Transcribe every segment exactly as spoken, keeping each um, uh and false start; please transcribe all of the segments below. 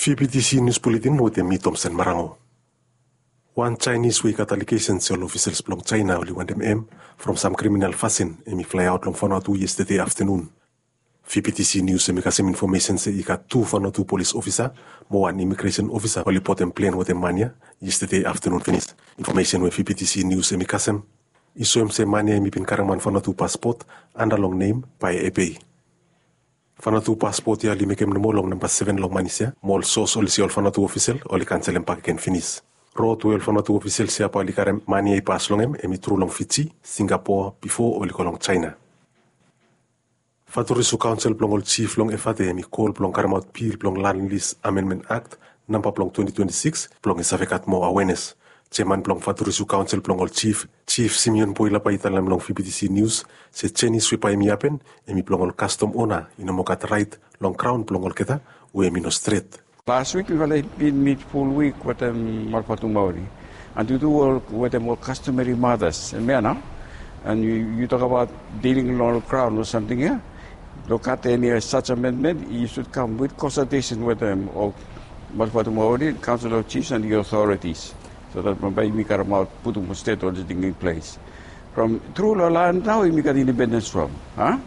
V P T C News Bulletin wetem mi Tomsen Marango. Wan Chinese we i gat alegesen se ol ofisels blong China oli wantem hem from sam kriminal fasin hem i flaeaot long Vanuatu yestede aftanun. V P T C News hem i kasem infomesen se i gat tu Vanuatu polis ofisa mo wan imigresen ofisa oli botem plen wetem man ya yestede aftanun finis. Infomesen we V P T C News hem i kasem i soem se man ya hem i bin karem wan Vanuatu paspot anda long nem Pae Ebei. Vanuatu paspot ya oli mekem nomo long namba seven long manis ya mo ol sos oli se ol Vanuatu ofisel oli kanselem bakegen finis. Rod we ol Vanuatu ofisels ya bae oli karem man ya i pas long hem hem i tru long Fiji, Singapoa bifo oli go long China. Faturisu Kaonsel blong ol Jif long Efate hem i kol blong karemaot bil blong Land Lease Amendment Act namba blong twenty twenty-six blong i save gat moa awenes. Jeaman blong Faturisu Kaonsel blong ol Jif, Jif Simeon Boila bae i talem long V P T C News se jenis we bae hem i hapen hem i blong ol kastom ona i no moa gat raet long graon blong olgeta we hem i no stret. Last week mifala i bin mit ful wik wetem Malvatumauri and yu tu wetem ol customary mothers hemia nao. And yu tokabaot diling long ol graon o samting ya. Blong gat eni such amendment yu sud kam wit konsaltesen wetem ol Malvatumauri Council of Chiefs and the authorities, so that bambae yumi karemaot putum ol stet ol ting in ples. From tru long lan nao yumi gat independens from, a?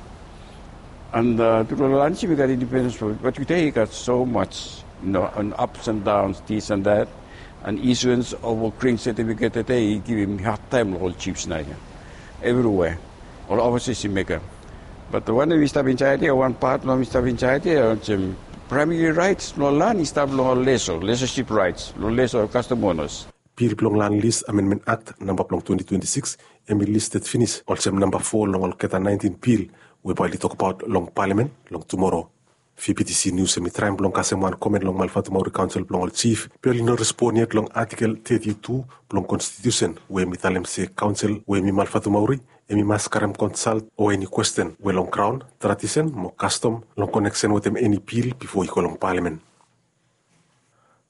And tru long lan yumi gat independens from, bat tude i gat so much, you know, an ups and downs, this and that. And issuance of a green certificate tude i givim hard time long ol chiefs nao ya. Evriwea ol offices i mekem. Bat wanem i stap insaed ya, wan pat blong hem i stap insaed ya olsem, primary rights blong lan i stap long ol leso, lesoship rights long leso kastom onas. Bil blong Land Lease Amendment Act namba blong twenty twenty-six hem i listed finis olsem namba fo long olgeta naentin bil we bae oli tokbaot long palamen long tumora. V P T C News hem i traem blong kasem wan komen long Malvatumauri Kaonsel blong ol Jif be oli no respon yet long Atikel thirty-two blong Konstitusen we hem i talem se kaonsel we hem i Malvatumauri hem i mas karem konsalt o eni kwesten we long graon, tradisen mo kastom long koneksen wetem eni bil bifo i go long palamen.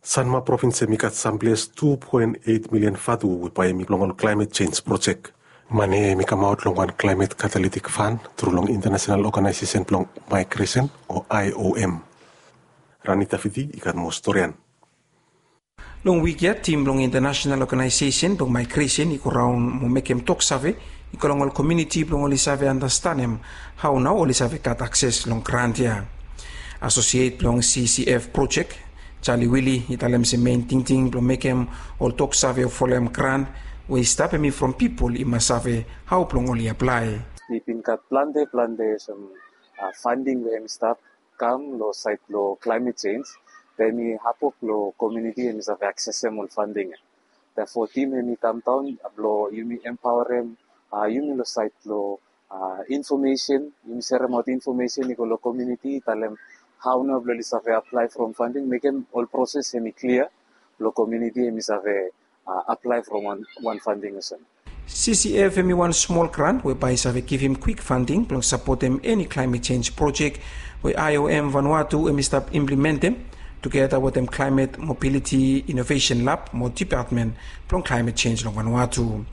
Sanma provins hem i gat samples tu poen eit milian vatu we bae hem i blong ol klaemet jenj projek. Mane hem i kamaot long wan klaemet katalitik fan tru long intanasenal oganaesesen blong maigresen o I O M. Ranita Fiti i gat moa storian. Long wik ya tim blong intanasenal oganaesesen blong maigresen i go raon mo mekem toksave i go long ol komiuniti blong oli save anastenem hao nao oli save gat akses long grant ya. Asosiet blong C C F projek, Charlie Willie, i talem se mein tingting blong mekem ol toksave o folem grant we i stap hem i from pipol i mas save hao blong oli aplae. I bin gat plante plante olsem fanding we hem i stap kam long saed blong klaemet jenj, be hem i hapok long komiuniti hem i save aksesem ol fanding ya. Therefore tim hem i kamdaon blong yumi empaorem yumi long saed blong infomesen, yumi seremaot infomesen i go long komiuniti, talem hao nao blong oli save aplae from fanding, mekem ol proses hem i klia blong komiuniti hem i save aplae from wan fanding olsem. C C F hem i wan smol grant we bae i save givim kwik fanding blong sapotem eni klaemet jenj projek we I O M Vanuatu hem i stap implementem tugeta wetem Klaemet Mobiliti Inovesen Lab mo Depatmen blong Klaemet Jenj long Vanuatu.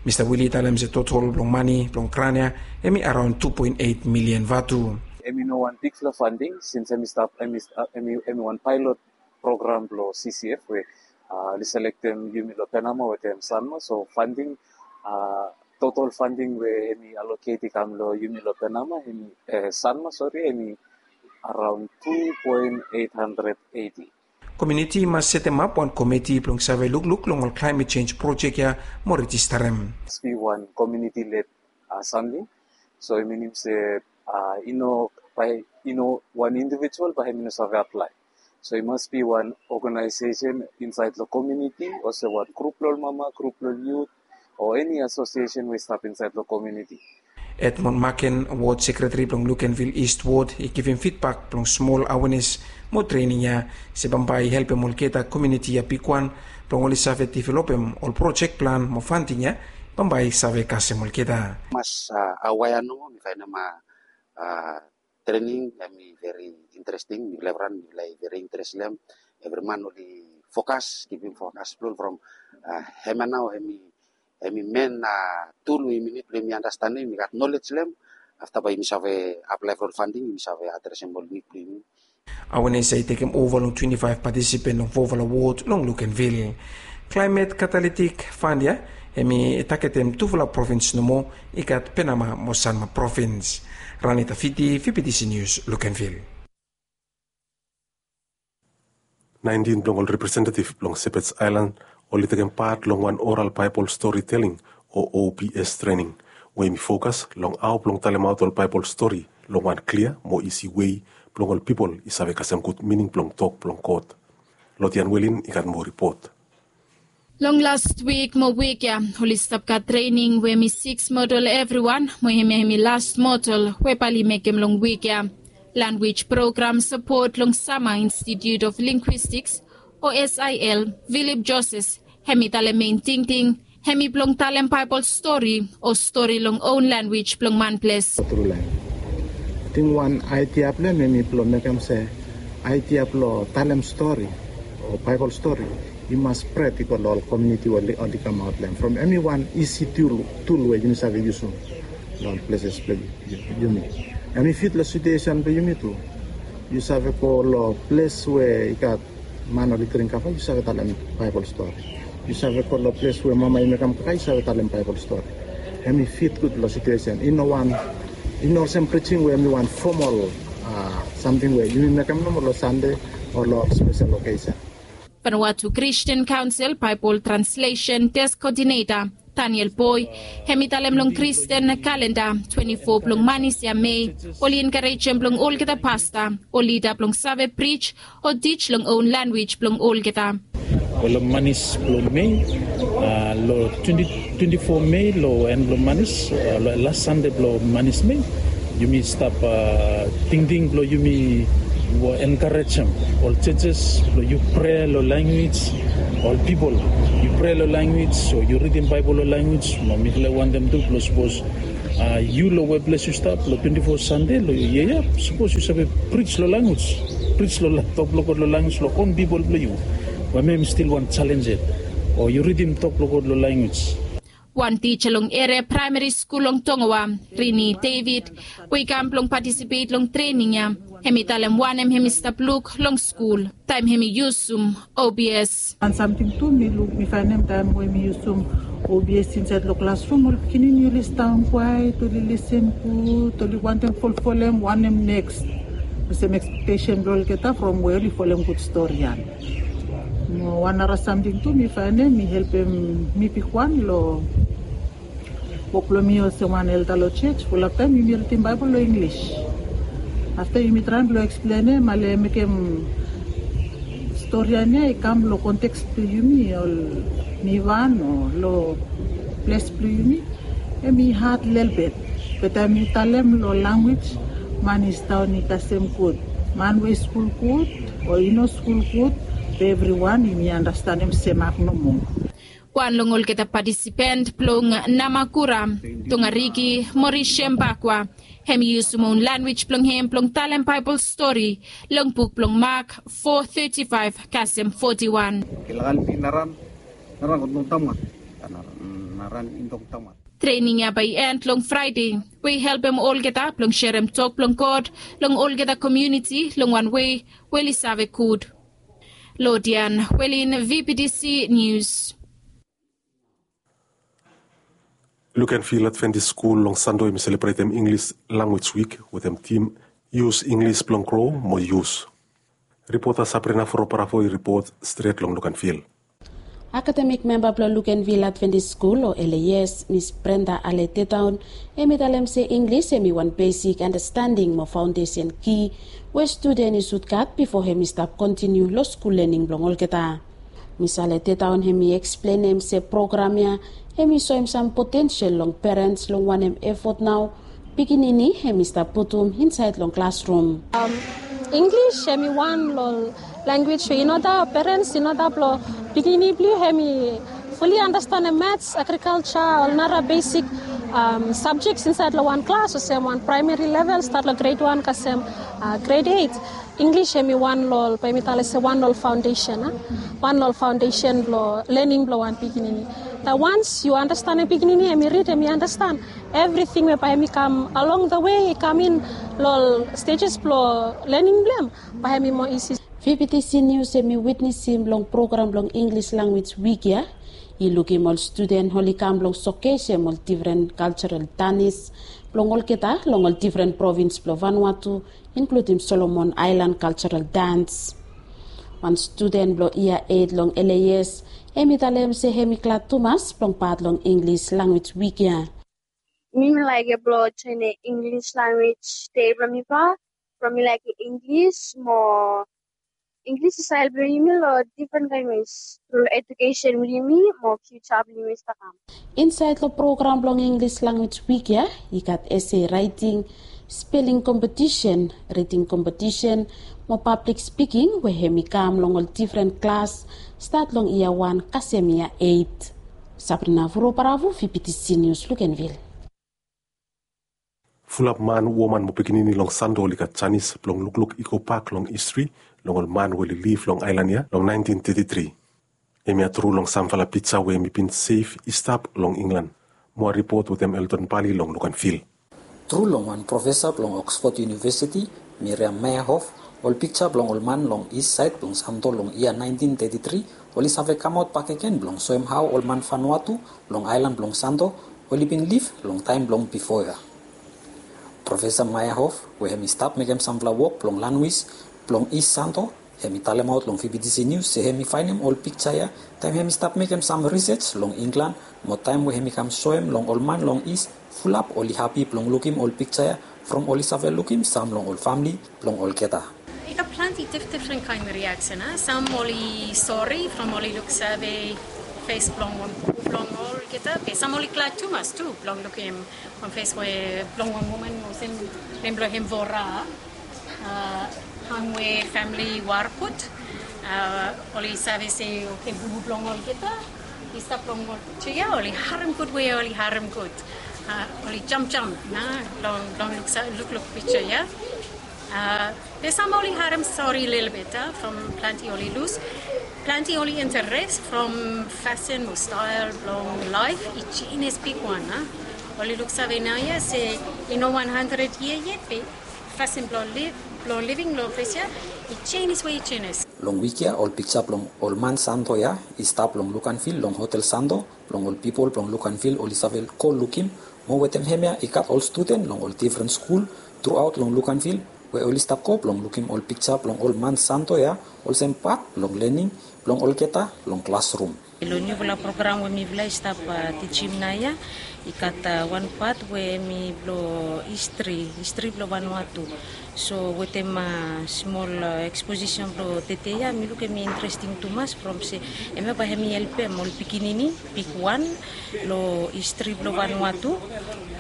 Mista Willie i talem se totol blong mane blong grant ya hem i araon tu poen eit milian vatu. Hem i no wan bigfala fanding sins hem i stap hem i wan paelot program blong C C F we oli selektem yumi long Panama wetem Sanma, so fanding, totol fanding we hem i aloket i kam long yumi long Panama hem i, Sanma sori, hem i araon tu poen eit handred eiti. Komiuniti i mas setemap wan komiti blong save lukluk long ol klaemet jenj projek ya mo rejistarem. Mas bi wan komiuniti led samting. So i minim se i no, bae i no, wan indivijual bae hem i no save aplae. So i mas bi wan oganaesesen insaed long komiuniti olsem wan grup blong ol mama, grup blong ol yut o eni asosiesen we i stap insaed long komiuniti. Edmond Maken, wod sekretari blong Lukenvil Ist Wod, i givim fidbak blong smol awenes mo trening ya se bambae i helpem olgeta komiuniti ya bigwan blong oli save developem ol projek plan mo fanding ya bambae i save kasem olgeta. Mas awaea nomo mi faenem trening hem i veri interesting, mifala evriwan mifala i veri interes long hem. Evri man oli fokas, givim fokas blong ol from hemia nao hem i hem i men tul we yumi nid blong yumi anastenem, yumi gat nolej long hem. Afta bae yumi save aplae for ol fanding, yumi save adresem ol nid blong yumi. Awenes ya i tekem ova long twenti faef patisipen long fofala wod long Lukenvil. Klaimet katalitik fan ya hem i taketem tufala provins nomo i gat Penama mo Sanma provins. Ranita Fiti, V P T C News, Lukenvil. Naentin blong ol representetiv blong Sepets Aelan oli tekem pat long wan oral Baebol stori teling o O B S trening we hem i fokas long hao blong talemaot ol Baebol stori long wan klia mo isi wei blong ol pipol i save kasem gud mining blong tok blong God. Lodian Welin i gat moa ripot. Long las wik mo wik ya oli stap gat trening we hem i siks modul evriwan mo hemia hem i las modul we bae oli mekem long wik ya. Lanwis program sapot long Sama Institute of Linguistics o S I L, Philip Joses, hem i talem mein tingting hem i blong talem Baebol stori o stori long own lanwis blong manples. Tru laen. Ting wan aidia blong hem hem i blong mekem se aidia blong talem stori o Baebol stori i mas spred i go long ol komuniti we oli kamaot long hem from eniwan isi tul we yumi save yusum long ol pleses blong yumi. Hem i fit long situesen blong yumi tu. Yu save go long ples we i gat man oli dring kava yu save talem Baebol stori. Yu save go long ples we mama i mekem kaka yu save talem Baebol stori. Hem i fit gud long situesen i no wan i no olsem prijing we hem i wan fomol samting we yumi mekem nomo long Sande o long spesel okesen. Vanuatu Christian Council Baebol Translation Desk Coordinator Daniel Boy hem i talem long Kristen kalenda twenti fo blong manis ya Mei oli enkarejem blong olgeta pasta o lida blong save prij o tij long own lanwis blong olgeta. Ol manis blong Mei, long twenti twenti fo Mei long en blong manis, las Sande blong manis Mei, yumi stap tingting blong yumi enkarejem ol jejes blong yu prea long lanwis, ol pipol yu prea long lanwis o yu ridim Baebol long lanwis. Mo mifala i wantem tu blong sapos yu long weples yu stap long twenti fo Sande long yia ya, sapos yu save prij long lanwis, prij long tok blong God long lanwis long on pipol blong yu. Wamem stil wan jalenj yet o yu ridim tok blong God long lanwis. Wan tija long eria praemari skul long Tongawa, Rini David, we i kam blong patisipet long trening ya, hem i talem wanem hem i stap luk long skul taem hem i yusum O B S. Wan samting tu mi luk mi faenem taem we mi yusum O B S insaed long klasrum ol pikinini oli stap kwaet oli lisin gud oli wantem folfolem wanem neks olsem ekspektesen blong olgeta from we oli folem gud stori ya. Mo wan nara samting tu mi faenem i helpem mi bigwan long wok blong mi olsem wan elda long jej. Fulap taem yumi ridim Baebol long Inglis. Afta yumi traem blong eksplenem ale mekem stori ya i kam long konteks blong yumi ol nivan o long ples blong yumi. Hem i had lelbet be taem yu talem long lanwis man i staon i kasem gud man we i skul gud o i no skul gud be evriwan yumi anastanem semak nomo. Wan long olgeta patisipen blong Namakura, Tongariki Morisem Bakwa, hem i yusum own lanwis blong hem blong talem Baebol stori long buk blong Mak fo teti faef kasem foti wan. Trening ya bae i en long Fraede we i helpem olgeta blong serem tok blong God long olgeta komuniti long wan wei we oli save gud. Lodian Welin, V P T C Nius. Lukenvil Adventist Skul long Sande hem i selebretem Inglis Lanwis Wik wetem tim Yus Inglis blong Gro mo Yus. Ripota Sabrina Foroparafo i ripot stret long Lukenvil. Akademik memba blong Lukenvil Adventist Skul o L A S, Mis Brenda Ale Tetaon, hem i talem se Inglis hem i wan besik andastanding mo faondesen ki we studen i sud gat bifo hem i stap kontiniu long skul lening blong olgeta. Mis Ale Tetaon hem i eksplenem se program ya hem i soem sam potensel long perens long wanem efot nao pikinini hem i stap putum insaed long klasrum. Inglis hem i wan long lanwis we i no dau perens i no dau blong pikinini blong yu hem i fuli anastanem mats, agrikalja, ol nara besik sabjeks insaed long wan klas olsem wan praemari level stat long gred wan kasem gred eit. English hemi wan long ol, bae mi talem se wan long ol foundation, a? Wan long ol foundation blong learning blong wan pikinini. That once yu understand pikinini, hemi read, hemi understand everything we bae hemi kam along the way, i kam in long ol stages blong learning blong hem, bae hemi more easy. VBTC News hemi witnesem long program blong English Language Week ya. I lukim ol studen oli kam blong showcasem ol different cultural dance blong olgeta long ol different province blong Vanuatu, including Solomon Island cultural dance. Wan studen blong yia eight long LAS, hemi talem se hemi glad tumas blong pat long English Language Week ya. Mi mi laik blong join English Language Day blong mi, from mi laik English mo English i style blong yumi long different language through education blong yumi mo future blong yumi stap kam. Insaed long program blong English Language Week ya, i gat essay writing, spelling competition, reading competition mo public speaking we hemi kam long ol different klas, stat long yia wan kasem yia eight. Sabrina Vuro Paravu, VBTC News, Luganville. Fulap man, woman mo pikinini long Santo oli gat janis blong lukluk i go bak long histri long ol man we oli liv long aelan ya long naentin teti tri. Hemia tru long samfala pija we hemi bin sev i stap long Inglan. Moa ripot wetem Eldon Bali long Luganville. Tru long wan profesa blong Oxford University, Miriam Meyerhoff, ol pija blong ol man long is saed blong Santo long yia naentin teti tri oli save kamaot bakegen blong soem hao ol man Vanuatu long aelan blong Santo oli bin liv long taem blong bifo ya. Profesa Meyerhoff, we hemi stap mekem samfala wok blong lanwis blong is Santo, hemi talemaot long VBTC Nius se hemi faenem ol pija ya taem hemi stap mekem sam risej long Inglan, mo taem we hemi kam soem long ol man long is, fulap oli hapi blong lukim ol pija ya from oli save lukim sam long ol famle blong olgeta. I gat plante dif-, difren kaen riaksen, a? Sam oli sore from oli luksave fes blong wan, blong olgeta, be sam oli glad tumas tu blong lukim wan fes we blong wan woman olsem nem blong hem Vora, a, hangwe famle Warput, a, oli save se, oke, bubu blong olgeta i stap long ol pija ya, oli harem gud we oli harem gud. A, oli jamjam, a, long, long luksa-, lukluk pija ya. A, be sam oli harem sore lelebet, a, from plante oli lus. Plante oli interes from fasin o stael blong laef i jenis bigwan, a. Oli luksave naoia se i no wan handred yia yet, be fasin blong liv, blong living long ples ya i jenis we i jenis. Long wik ya ol pija blong ol man Santo ya i stap long Luganville long Hotel Santo blong ol pipol blong Luganville oli save go lukim, mo wetem hemia i gat ol studen long ol difren skul truaot long Luganville we oli stap go blong lukim ol pija blong ol man Santo ya olsem pat blong lening blong olgeta long klasrum. Long niufala program we mifala i stap, a, tijim naoia, i gat, a, wan pat we hemi blong histri, histri blong Vanuatu. So wetem, a, smol, a, eksposisen blong tede ya, mi luk hemi interesting tumas from se hemia bae hemi helpem ol pikinini bigwan long histri blong Vanuatu,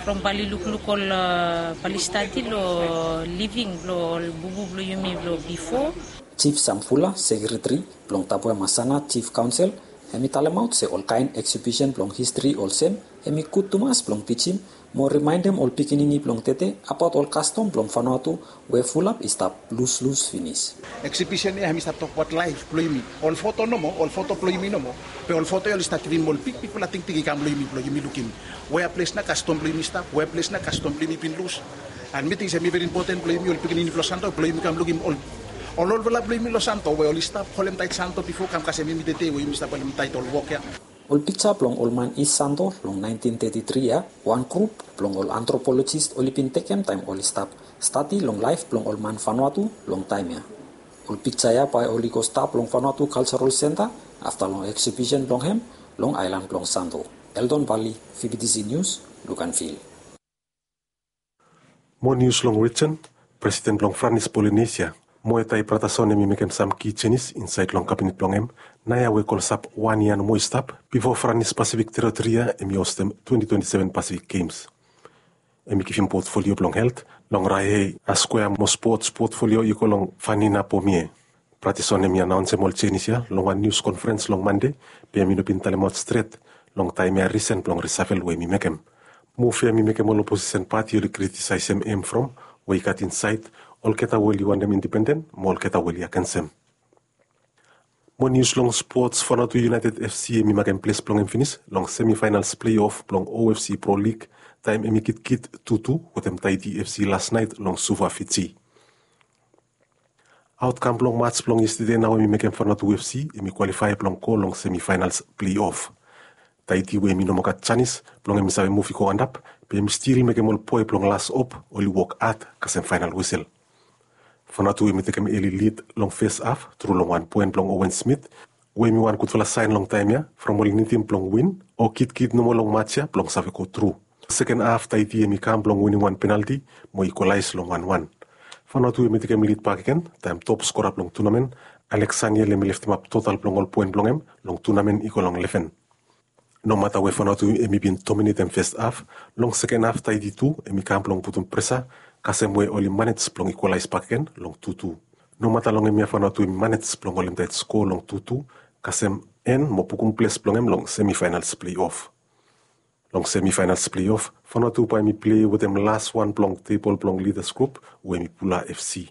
from bae oli lukluk ol, a, bae oli stadi long living blong ol bubu blong yumi blong bifo. Jif Samfula, sekreteri blong Tapuai Masana Jif Kaonsel, hemi talemaot se ol kaen eksibisen blong histri olsem hemi gud tumas blong tijim mo rimaendem ol pikinini blong tede abaot ol kastom blong Vanuatu we fulap i stap luslus finis. Eksibisen ya hemi stap tokbaot laef blong yumi, ol foto nomo, ol foto blong yumi nomo, be ol foto ya oli stap givim ol bigbigfala tingting i kam long yumi blong yumi lukim wea ples nao kastom blong yumi i stap, wea ples nao kastom blong yumi i bin lus. An mi ting se hemi veri impoten blong yumi ol pikinini blong Santo blong yumi kam lukim ol, ol olfala blong yumi long Santo we oli stap holem taet Santo bifo kam kasem yumi tede we yumi stap holem taet ol wok ya. Ol pija blong ol man Is Santo long naentin teti tri ya, wan grup blong ol antropolojis oli bin tekem taem oli stap stadi long laef blong ol man Vanuatu long taem ya. Ol pija ya bae oli go stap long Vanuatu Kaljarol Senta afta long eksibisen blong hem long aelan blong Santo. Eldon Bali, VBTC Nius, Luganville. Moa nius long rijen. Presiden blong Franis Polinesia, Moetai Bratason, hemi mekem sam ki jenis insaed long kabinet blong hem naoia we klosap wan yia nomo i stap bifo Franis Pasifik Teritori ya hemi hostem twenti twenti seven Pasifik Gems. Hemi givim potfolio blong helt long Raihei Askwea mo spots potfolio i go long Fanina Pomie. Bratason hemi anaonsem ol jenis ya long wan nius konferens long Mande, be hemi no bin talemaot stret long taem ya risen blong risafel we hemi mekem. Muv ya hemi mekem ol oposisen pati oli kritisaesem hem from we i gat insaed Olgeta we oli wantem indipenden mo olgeta we oli agensem. Mo nius long spots, Vanuatu United F C hemi makem ples blong hem finis long semifinals pleiof blong O F C Pro League taem hemi kitkit tutu wetem Tahiti F C lasnaet long Suva, Fiji. Aotkam blong mats blong yestede nao hemi mekem Vanuatu F C hemi kwalifae blong go long semifinals pleiof. Tahiti we hemi no moa gat janis blong hemi save muv i go antap, be hemi stil mekem ol boe blong Las Op oli wok had kasem faenal wisel. Vanuatu hemi tekem eli lid long fes haf tru long wan poen blong Owen Smith, we hemi wan gudfala saen long taem ya from oli nidim blong win o kitkit nomo long mats ya blong save go tru. Seken haf Tahiti hemi kam blong winim wan penalti mo i ikwalaes long wan wan. Vanuatu hemi tekem lid bakegen taem top skora blong tunamen, Alexaniel, hemi leftemap total blong ol poen blong hem long tunamen i go long leven. Nomata we Vanuatu hemi bin dominetem fes haf, long seken haf Tahiti tu hemi kam blong putum presa kasem we oli manej blong ikwalaes bakegen long tutu. Nomata long hemia Vanuatu hemi manej blong holem taet sko long tutu kasem en mo bukum ples blong hem long semifinals pleiof. Long semifinals pleiof Vanuatu bae hemi plei wetem las wan blong tebol blong Leaders Group we hemi Bula F C.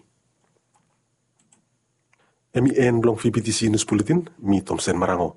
Hemi en blong V B T C News Bulletin. Mi Tomsen Marango.